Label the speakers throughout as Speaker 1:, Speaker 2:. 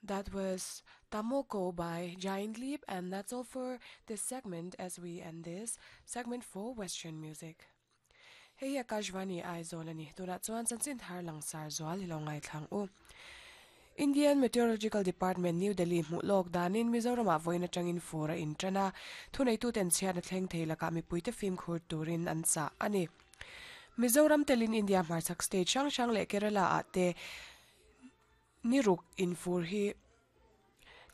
Speaker 1: That was Tamoko by Giant Leap and that's all for this segment as we end this segment for Western music. Hei hi Akashvani Aizawl a ni. Tunah chuan chanchin thar langsar zual i lo ngaithlang u. Indian Meteorological Department, New Delhi hmuh lawk danin Mizoramah vawiin atangin fur a intan a, thuneituten chhiatna thleng thei lakah mipuite fimkhur turin an chah a ni. Mizoram telin India hmarchhak state hrang hrang leh Kerala ah te Ni ruk in fur hi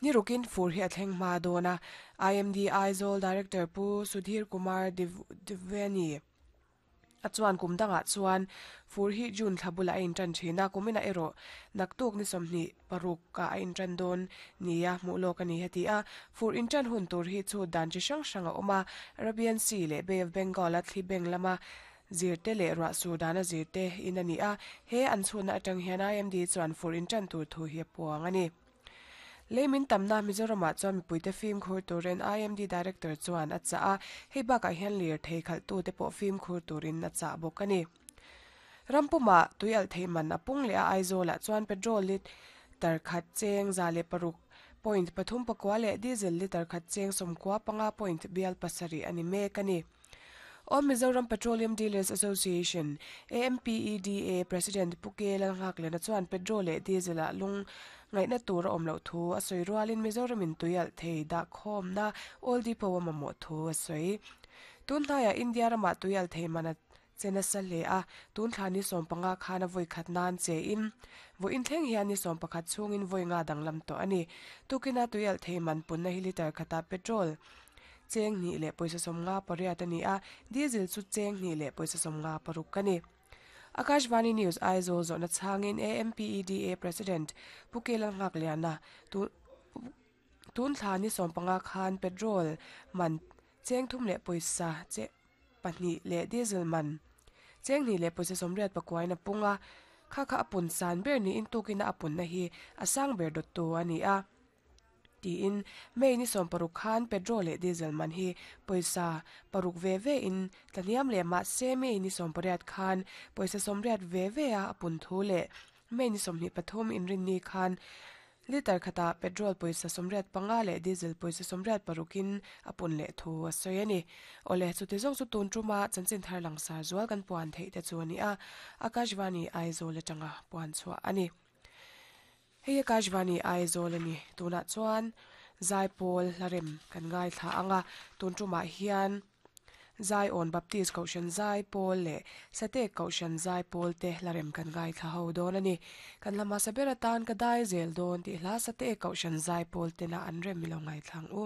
Speaker 1: Ni rukin fur hi a thleng hma dawn a, IMD Aizawl Director Pu Sudhir Kumar Dwivedi a chuan kum dangah chuan fur hi June thla bulah a intan thin a, kuminah erawh naktuk ni 26 ah a intan dawn nia hmuh lawk a ni heti a. Fur intan hun tur hi chhut dan chi hrang hrang a awm a, Arabian Sea leh Bay of Bengal a thli beng lama Zirte leh ruah sur dana zirte in a ni a, he an chhunna atang hian IMD chuan fur in tan tur thu hi a puang a ni. Lei min tamna Mizoramah chuan mipuite fimkhur turin IMD Director chuan a chah a, hei bakah hian lirthei khalhtute pawh fimkhur turin a chah bawk a ni. Rampumah tui alh theih man a pung leh a Aizawlah chuan petrol litre khat cheng 106 point pathum pakua leh diesel litre khat cheng 95 point bial pasarih a ni mek a ni. All Mizoram Petroleum Dealers Association, AMPEDA, President Pu K Lalnghaklena chuan petrol leh diesel ah lung ngaihna tur a awm loh thu a sawi rualin Mizoramin tui alh thei dahkhawmna oil depot a mamawh thu a sawi. Tun hnaiah India ramah tui alh thei man a che nasa hle a, tun thla ni 15 khan a vawi khat nan che in vawiin thleng hian ni 11 chhungin vawi nga danglam tawh a ni. Tukina tui alh thei man punna hi litre khatah petrol Cheng hnih leh pawisa 58 a ni a, diesel chu cheng hnih leh pawisa 56 a ni. Akashvani News Aizawl zawhna chhangin AMPEDA President Pu Kelal Nghakliana tun thla ni 15 khan petrol man cheng thum leh pawisa che pahnih leh diesel man cheng hnih leh pawisa 89 a pung a, kha kha a pun san ber niin tukina a punna hi a sang ber dawttu a ni a. Tiin May ni 60 khan petrol leh diesel man hi pawisa paruk ve ve in tlahniam leh mah se May ni 18 khan pawisa 80 ve ve a a pun thu leh May ni 23 inrinni khan litre khatah petrol pawisa 85 leh diesel pawisa 86 in a pun leh thu a sawi a ni. Awle, chuti zawng chu tun tuma chanchin thar langsar zual kan puan theih te chu a ni a, Akashvani Aizawl atanga puan chhuah a ni. Hei Akashvani Aizawl a ni. Tunah chuan Zaipawl hlarem kan ngaithla ang a, tun tumah hian Zaiawn Baptist Kohhran Zaipawl leh Satek Kohhran Zaipawl te hlarem kan ngaithla ho dawn a ni. Kan hla hmasa ber atan ka dai zel dawn tih hla Satek Kohhran Zaipawl tena an rem i lo ngaithla ang u.